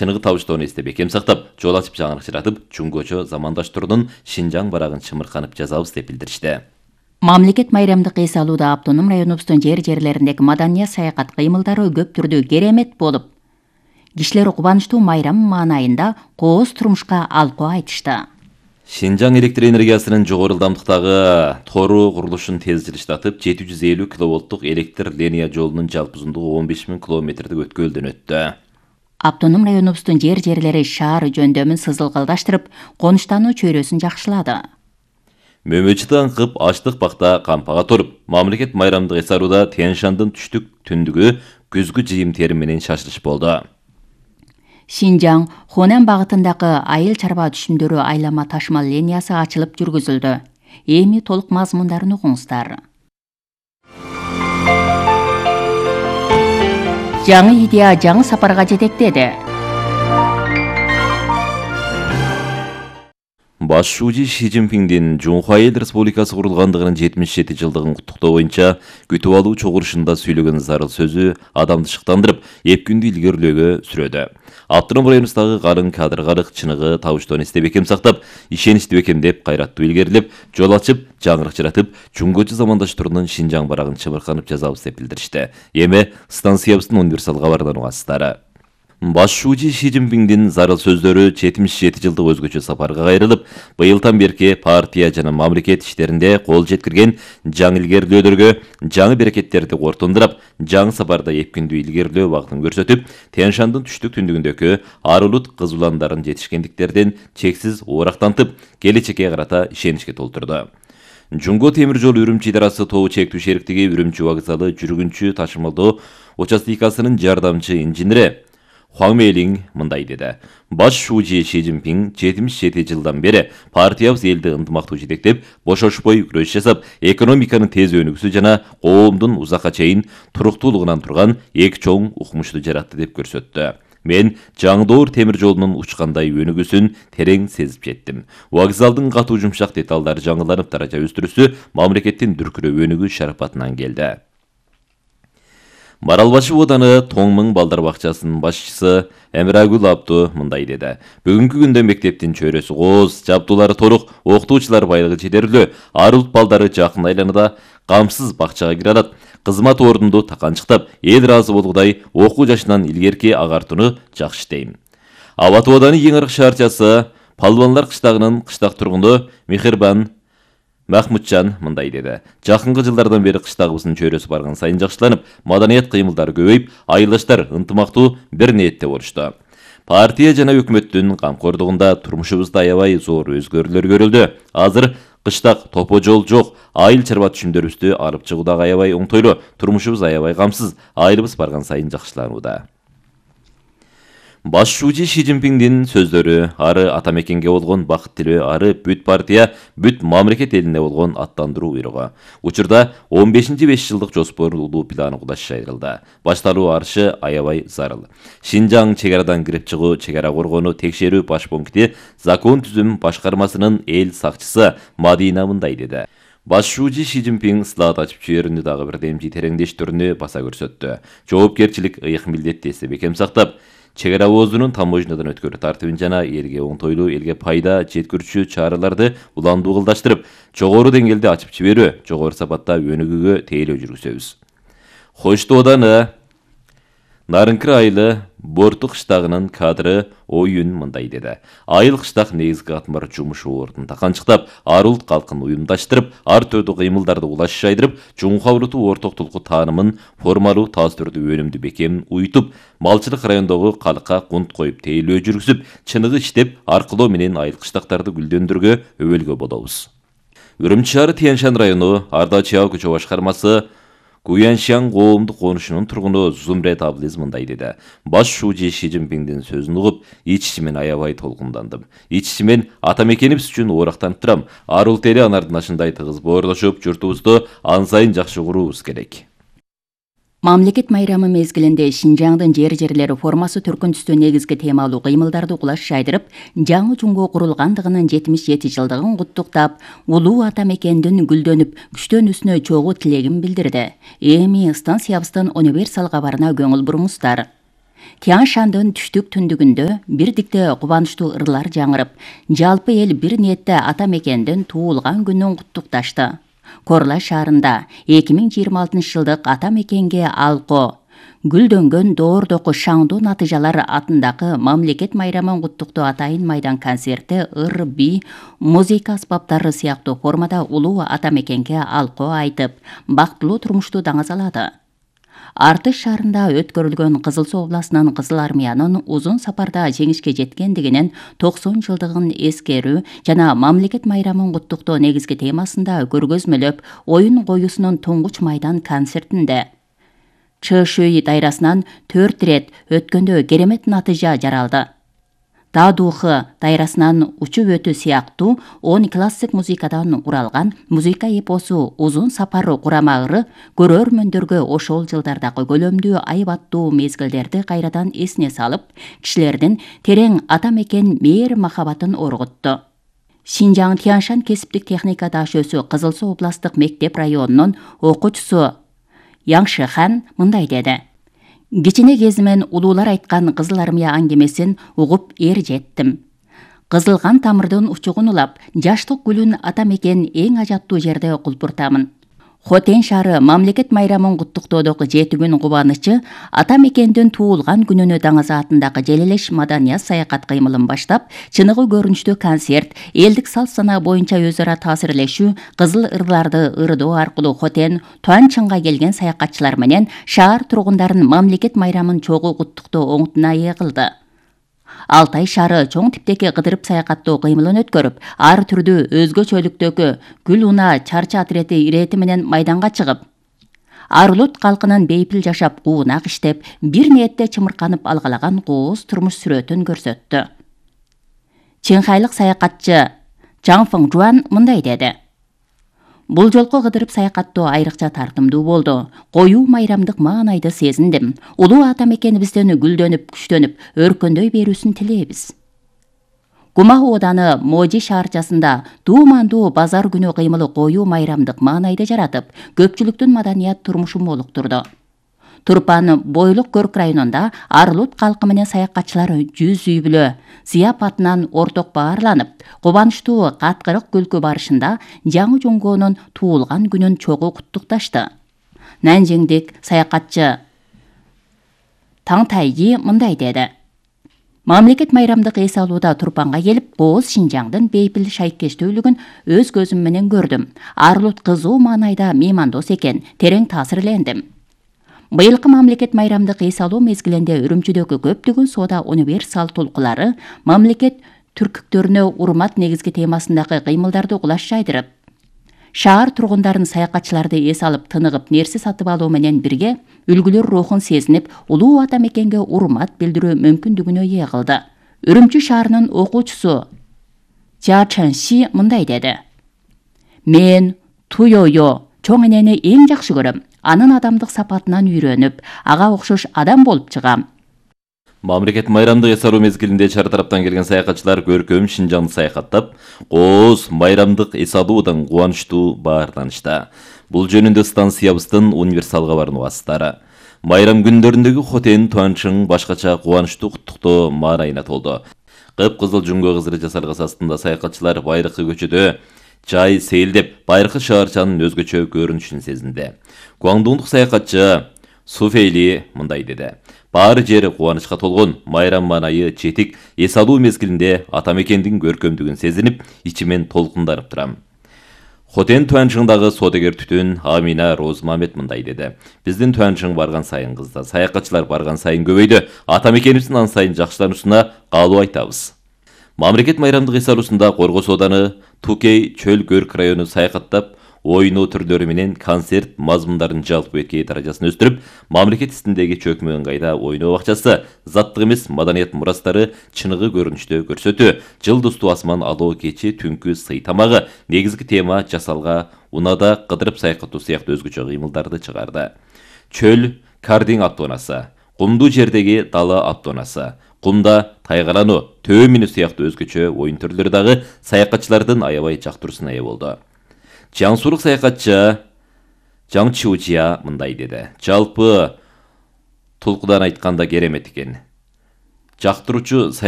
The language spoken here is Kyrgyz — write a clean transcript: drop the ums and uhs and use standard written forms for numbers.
чыныгы табыштоону эстеп бекем сактап, жол ачып жаңырыкчыратып, жунгочо замандаштыруудун Шинжаң барагын чымырканып жазабыз деп билдиришти. Мамлекет майрамдык эс алууда автоном районубуздун жерлериндеги маданият саякат кыймылдары көп түрдүү керемет болуп, кишилер кубанычтуу майрам маанайында кооз турмушка алкоо айтышты. Шинжаң электр энергиясынын жогору ылдамдыктагы тору курулушун тез жылыштатып, 750 киловолттук электр линия жолунун жалпы узундугу 15 000 километрдик өткөлдөн өттү. Автоном районубуздун жерлери шаар жөндөмүн сызылгалдаштырып, конуштануу чөйрөсүн жакшылады. Мөмөчү аңкып, аштык бакта кампага торуп, мамлекет майрамдык эс алууда Тянь-Шандын түштүк түндүгү күзгү жыйым терим менен шашылыш болду. Шинжаң Хонан багытындагы айыл чарба түшүмдөрү айлама ташмал линиясы ачылып жүргүзүлдү. Эми толук мазмундарын угуңуздар. Жаңы идея жаңы сапарга жетектеди. Баш шүүжү Ши Цзиньпиңдин Жунхуа Эл Республикасы курулгандыгынын 77-жылдыгын куттуктоо боюнча күтүп алуу чогулушунда сүйлөгөн зарыл сөзү адамды шыктандырып, эпкүндү илгерилөөгө сүрөдү. Автоном районубуздагы карын кадыр карык чыныгы табыштоону эстеп бекем сактап, ишеничти бекемдеп, кайраттуу илгерилеп, жол ачып, жаңырыкчыратып, жунгочу замандаштыруудун Шинжаң барагын чымырканып жазабыз деп билдиришти. Эми станциябыздын универсал кабарынан угасыздар. Баш шүүжү Ши Цзиньпиңдин зарыл сөздөрү 77 жылдык өзгөчө сапарга кайрылып, быйылдан берки партия жана мамлекет иштеринде кол жеткирген жаңы илгерилөөдөргө, жаңы берекеттерди кортундурап, жаңы сапарда эпкүндүү илгерилөө багытын көрсөтүп, Тянь-Шандын түштүк түндүгүндөгү ар улут кыз уландарын жетишкендиктерден чексиз оорактантып, келечекке карата ишеничке толтурду. Жунго темир жол Үрүмчү идарасы тобу чектүү шериктиги Үрүмчү вокзалы жүргүнчү ташымалдоо участикасынын жардамчы инженери Хуаң Мэйлиң мындай деди. Баш шүүжү Ши Цзиньпиң 77 жылдан бери партиябыз элди ынтымактуу жетектеп, бошошпой күрөш жасап, экономиканын тез өнүгүүсү жана коомдун узакка чейин туруктуулугунан турган эки чоң укмушту жаратты деп көрсөттү. Мен жаңы доор темир жолунун учкандай өнүгүүсүн терең сезип жеттим. Вокзалдын катуу жумшак деталдары жаңыланып, даража өстүрүүсү мамлекеттин дүркүрөө өнүгүү шарапатынан келди. Маралбашы ооданы Тоңмың балдар бакчасынын башчысы Эмирагүл Абду мындай деди. Бүгүнкү күндө мектептин чөйрөсү кооз, жабдуулары торук, окутуучулар байлыгы жетерлүү, ар улут балдары жакын айланада камсыз бакчага кире алат. Кызмат ордунду таканчыктап, эл ыраазы болгудай окуу жашынан илгерки агартууну жакшы дейм. Абаты ооданы эң аркы шаарчасы Палбанлар кыштагынын кыштак тургуну Мехрибан Махмутжан мындай деди. Жакынкы жылдардан бери кыштагыбыздын чөйрөсү барган сайын жакшыланып, маданият кыймылдары көбөйүп, айылдаштар ынтымактуу бир ниетте болушту. Партия жана өкмөттүн камкордугунда турмушубузда аябай зор өзгөрүүлөр көрүлдү. Азыр кыштак топо жол жок, айыл чарба түшүмдөрүбүздү алып чыгуудагы аябай оңтойлуу, турмушубуз аябай камсыз, айылыбыз барган сайын жакшыланууда. Баш шүүжү Ши Цзиньпиңдин сөздөрү ары ата мекенге болгон бакыт тилөө, ары бүт партия, бүт мамлекет элине болгон аттандыруу буйругу. Учурда 15-5 жылдык жоспорлуу планы кудаш жайрылды. Башталуу арышы аябай зарыл. Шинжаң чек арадан кирип чыгуу, чек ара коргонуу текшерүү баш пункти закон түзүм башкармасынын эл сакчысы Мадина мындай деди. Баш шүүжү Ши Цзиньпиң слайд ачып жиберүүнү дагы бир демчи тереңдештирүүнү баса көрсөттү. Жоопкерчилик ыйык милдетти эстеп бекем сактап, чек ара оозунун таможнядан өткөрүү тартибин жана элге оңтойлуу, элге пайда жеткирүүчү чараларды уландуу кылдаштырып, жогору деңгээлде ачып жиберүү, жогору сапатта өнүгүүгө тейлөө жүргүзөбүз. Хоштоо ооданы Нарынкыр айылы Борту кыштагынын кадры оюн мындай деди. Айыл кыштак негизги катмар жумуш ордун таканчыктап, ар улут калкын уюмдаштырып, ар түрдүү кыймылдарды улаш жайдырып, Жунхуа улуту ортоктулуку таанымын формалуу таастырдуу өнүмдү бекем уютуп, малчылык райондогу калкка кунт коюп тейлөө жүргүзүп, чыныгы иштеп, аркылоо менен айыл кыштактарды гүлдөндүргө өбөлгө болобуз. Үрүмчү шаары Тянь-Шань району Ардачиял көчө башкармасы Гуяншан коомдук конушунун тургуну Зумрет Аблиз мындай деди. Баш шүүжү Ши Цзиньпиңдин сөзүн угуп, ич-ичимен аябай толкундандым. Ич-ичимен ата мекенибиз үчүн оорактанып турам. Ар улут эли анардын ашындай тыгыз боордошуп, журтубузду ан сайын жакшы куруубуз керек. Мамлекет майрамы мезгилинде Шинжаңдын жерлери формасы түркүн түстүү негизги темалуу кыймылдарды кулаш жайдырып, жаңы жунго курулгандыгынын 77 жылдыгын куттуктап, улуу ата мекендин гүлдөнүп, күчтөнүүсүнө чогуу тилегин билдирди. Эми станциябыздын универсал кабарына көңүл буруңуздар. Тянь-Шандын түштүк түндүгүндө бирдикте кубанычтуу ырлар жаңырып, жалпы эл бир ниетте ата мекендин туулган күнүн куттукташты. Корлай шаарында 2026 жылдык ата мекенге алко гүлдөнгөн доордоку шаңдуу натыйжалар атындагы мамлекет майрамын куттуктоо атайын майдан концерти ыр, би, музыка аспаптары сыяктуу формада улуу ата мекенге алко айтып, бактылуу турмушту даңазалады. Артыш шаарында өткөрүлгөн Кызыл Суу областынын Кызыл армиянын узун сапарда жеңишке жеткендигинин 90 жылдыгын эскерүү жана мамлекет майрамын куттуктоо негизги темасында көргөзмөлөп оюн коюусунун туңгуч майдан концертинде ЧШУ дайрасынан 4 рет өткөндө керемет натыйжа жаралды. Даадухы дайрасынан учуп өтүү сыяктуу 10 классик музыкадан уралган музыка эпосу узун сапар курамагыры көрөрмөндөргө ошол жылдардагы көлөмдүү айбаттуу мезгилдерди кайрадан эсине салып, кишилердин терең ата мекен мээр махабатын оргутту. Шинжаң Тянь-Шань кесиптик техника дашөөсү Кызыл Суу областтык мектеп районунун окуучусу Яңшыхан мындай деди. Кичине кезимен улуулар айткан Кызыл армия аңгемесин угуп жеттим. Кызылган тамырдын учугун улап, жаштык гүлүн ата мекен эң ажаттуу жерде кулпуртамын. Хотен шаары мамлекет майрамын куттуктоодогу жети күн кубанычы ата мекендин туулган күнүнө даңазаатындагы желелеш маданият саякат кыймылын баштап, чыныгы көрүнүштүү концерт, элдик салт санаа боюнча өз ара таасирлешүү, кызыл ырларды ырдоо аркылуу Хотен, Туанчынга келген саякатчылар менен шаар тургундарын мамлекет майрамын чогуу куттуктоо оңутуна ээ кылды. Алтай шаары чоң типтеги кыдырып саякаттоо кыймылын өткөрүп, ар түрдүү өзгөчөлүктөгү гүл уна чарчы отрети ирети менен майданга чыгып, Арлут калкынын бейпил жашап, уунак иштеп, бир ниетте чымырканып алгалаган кооз турмуш сүрөтүн көрсөттү. Чыңхайлык саякатчы Чаң Фың Жуан мындай деди. Бул жолку кыдырып саякаттоо айрыкча тартымдуу болду. Коюу майрамдык маанайды сезиндим. Улуу ата мекенибизден гүлдөнүп, күчтөнүп, өркөндөй берүүсүн тилейбиз. Кума ооданы Можи шаарчасында дуумандуу базар күнү кыймылы коюу майрамдык маанайды жаратып, көпчүлүктүн маданият турмушун молуктурду. Турпан бойлук көрк районунда Арлут калкы менен саякатчылар 100 үй бүлө зыяпатынан орток баарланып, кубанычтуу каткырык күлкү барышында жаңы жуңгоонун туулган күнүн чогуу куттукташты. Нанжиңдик саякатчы Таң Тайги мындай деди. Мамлекет майрамдык эс алууда Турпанга келип, кооз Шинжаңдын бейпил шайкечтүүлүгүн өз көзүм менен көрдүм. Арлут кызуу маанайда меймандос экен, терең таасирлендим. Быйылкы мамлекет майрамдык эс алуу мезгилинде Үрүмчүдөгү көптөгөн соода универсал толкулары мамлекет түркүктөрүнө урмат негизги темасындагы кыймылдарды кулаш жайдырып, шаар тургундарын саякатчыларды эс алып тыныгып нерсе сатып алуу менен бирге үлгүлөр рухун сезинип, улуу ата мекенге урмат билдирүү мүмкүндүгүнө ээ кылды. Үрүмчү шаарынын окуучусу Жа Чанши мындай деди. Мен Туйойо чоң энени эң жакшы көрөм. Анын адамдык сапатынан үйрөнүп, ага окшош адам болуп чыгам. Мамлекет майрамдык эс алуу мезгилинде чар тараптан келген саякатчылар көркөм Шинжаңды саякаттап, кооз майрамдык эс алуудан кубанычтуу баарланышты. Бул жөнүндө станциябыздын универсал кабарынын убастары. Майрам күндөрүндөгү Хотен, Туанчың башкача кубанычтуу куттуктоо маанайына толду. Кып-кызыл жуңго кызыры жасалгас астында саякатчылар байракы көчөдө жай сейилдеп, байыркы шаарчанын өзгөчө көрүнүшүн сезинди. Гуаңдуңдук саякатчы Суфейли мындай деди. Баары жери кубанычка толгон, майрам маанайы жетик эс алуу мезгилинде ата мекендин көркөмдүгүн сезинип, ичимен толкунданып турам. Хотен Туанчыңдагы соодагер түтүн Амина Розмамет мындай деди. Биздин Туанчың барган сайын кызды, саякатчылар барган сайын көбөйдү. Ата мекенибиздин ан сайын жакшылануусуна каалоо айтабыз. Мамлекет майрамдык эс алуусунда Коргос ооданы Тукей чөл көрк району саякаттап, ойноо түрлөрү менен концерт мазмундарын жалпы беткей даражасын өстүрүп, мамлекет истиндеги чөкмө ыңгайда ойноо бакчасы, заттык эмес маданият мурастары чыныгы көрүнүштө көрсөтүү, жылдыздуу асман алоо кечи түнкү сый тамагы негизги тема жасалга унада кыдырып саякаттоо сыяктуу өзгөчө кыймылдарды чыгарды. Чөл кардинг аттоонасы, кумдуу жердеги дала аттоонасы, кумда тайгалануу, төө минүү сыяктуу өзгөчө оюн түрлөрү дагы саякатчылардын аябай жактыруусуна ээ болду. Жаңсурук саякатчы Жаң Чиужия мындай деди. Жалпы Толкудан айтканда керемет экен. Жактыруучу